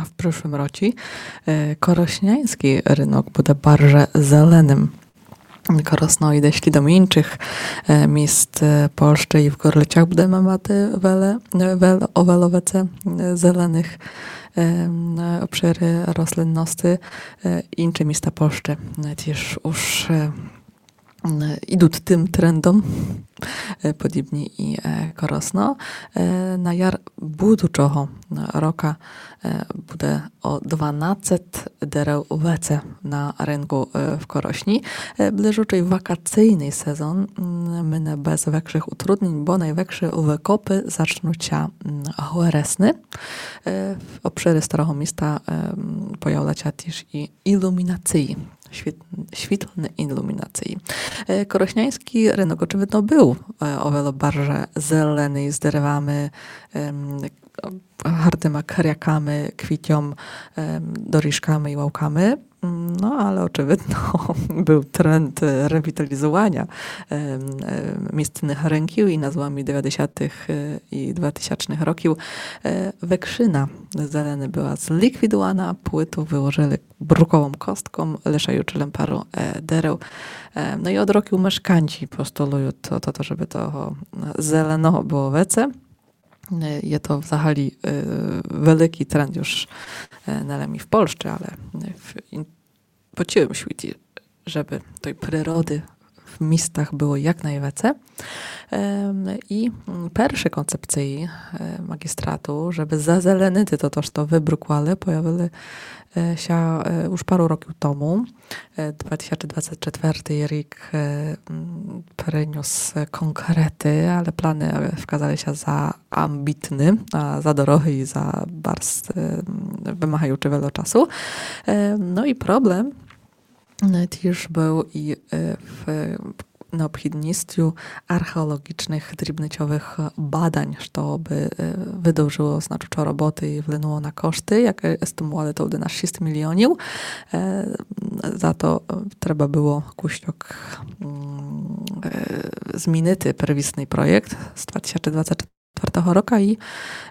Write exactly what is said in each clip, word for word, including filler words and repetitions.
А в пришлым році, е, коросняйскій рынок буде барже зеленым. Коросно і дешкы до іншых, е, міст, е, Польщы і в Горлицях будеме мати веле, е, вел-, о вело веце, е, зеленых, е, м, е, обшыры рослинности, е, іншы міста Польщы, е, тіж уж, е, м, ідут тым трендом, е, подібні і, е, Коросно. Е, на яр будучого рока, е, буде о дванадцет дерев веце на рынку, е, в Коросні. Е, ближучый вакацийный сезон, м, мине без векшых утруднень, бо найвекшы выкопы зачнут ся, м, вересны. Е, в обшыры Старого Міста, е, м, появлят ся тіж і ілумінациі. Світ-, світлны ілумінациі. Е, коросняйскій рынок очывидно был, е, о вело барже зеленый, з деревами, ем, гартыма кряками, квітом, ем, доріжками і лавками. М, но, але очывидно был тренд, е, ревіталізуваня, ем, е, містных рынків і на зломі девятдесятых, е, і дватисячных років, е, векшына зелены была зліквідувана, плыту выложыли бруковом костком, лишаючы лем пару, е, дерев. Е, но і од років мешканці постулуют о то, то, жебы того, е, зеленого было веце. Е, є то взагалі, е, великый тренд юж, е, не лем і в Польщы, але, е, в ін-, по цілым світі, жебы той природы в містах было як найвеце. Ем, і, м, першы концепциі, е, маґістрату, жебы зазеленити то, то, што выбрукували, появили, е, ся, е, уж пару років тому. Е, дватисячдвацет четвертый рік, е, м, принюс конкреты, але планы, е, вказали ся за амбітны, а за дорогы і за барз, е, м, вымагаючы вело часу. Е, но і проблем, е, тіж был і, е, в необхідностю археолоґічных дрібничовых бадань, што бы, е, выдовжило значучо роботы і вплынуло на кошты, якы естимували тогды на шіст міліонів. Е, за то, е, треба было кусьок, м, е, змінити первісный проєкт з дватисячдвацет четвертого рока і,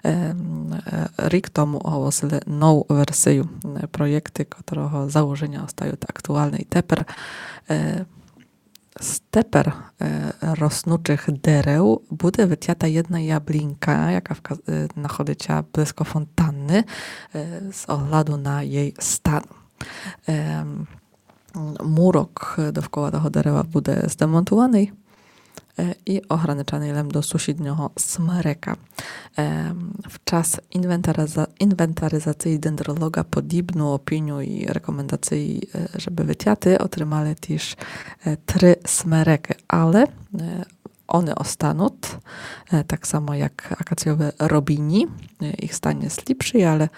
е, м, е, рік тому оголосили нову версію, е, проєкты, котрого заложеня остают актуалны. І тепер, е, з тепер, е, роснучых дерев буде вытята єдна яблінка, яка вка-, е, находит ся близько фонтанны, е, з огляду на єй стан. Ем, мурок довкола того дерева буде здемонтуваный, е, і ограничаный лем до сусіднього смерека. Ем, в час інвентариза-, інвентаризациі дендролоґа подібну опінію і рекомендациі, е, жебы вытяти, отримали тіж, е, три смерекы, але, е, они останут, е, так само як акаційовы робіні, е, іх стан єст ліпшый, але,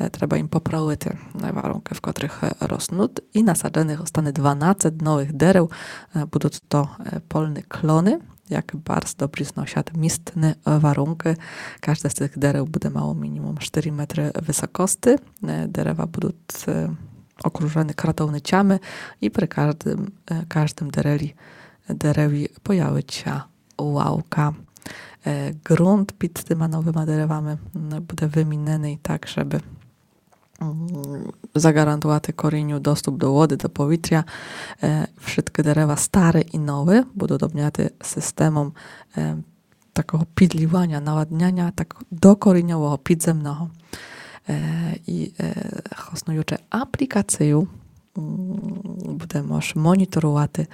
е, треба їм поправити, е, варункы, в котрых, е, роснут, і насадженых остане дванадцет новых дерев, е, будут то, е, польны клоны, як барз добрі зносят містны, е, варункы. Кажде з тых дерев буде мало мінімум штыри метры высокости. Е, дерева будут, е, окружены кратовницями і при каждым, е, каждым дереві, дереві появит ся лавка. Е, ґрунт під тыма новыма деревами, м, буде выміненый так, жебы, м, заґарантувати коріню доступ до воды, до повітря. Е, вшыткы дерева стары і новы будут обняты сістемом, е, такого підліваня, навадняня, так докоріньового, підземного. Е, і, е, хоснуючы аплікацию, м, буде мож моніторувати,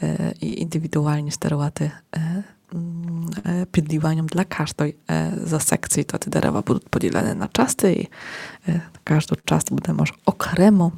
е, і індивідуалні стерувати, е, м, е, підліваньом для каждой, е, зо секций. То тоты дерева будут поділены на части і, е, кажду част буде мож окремо,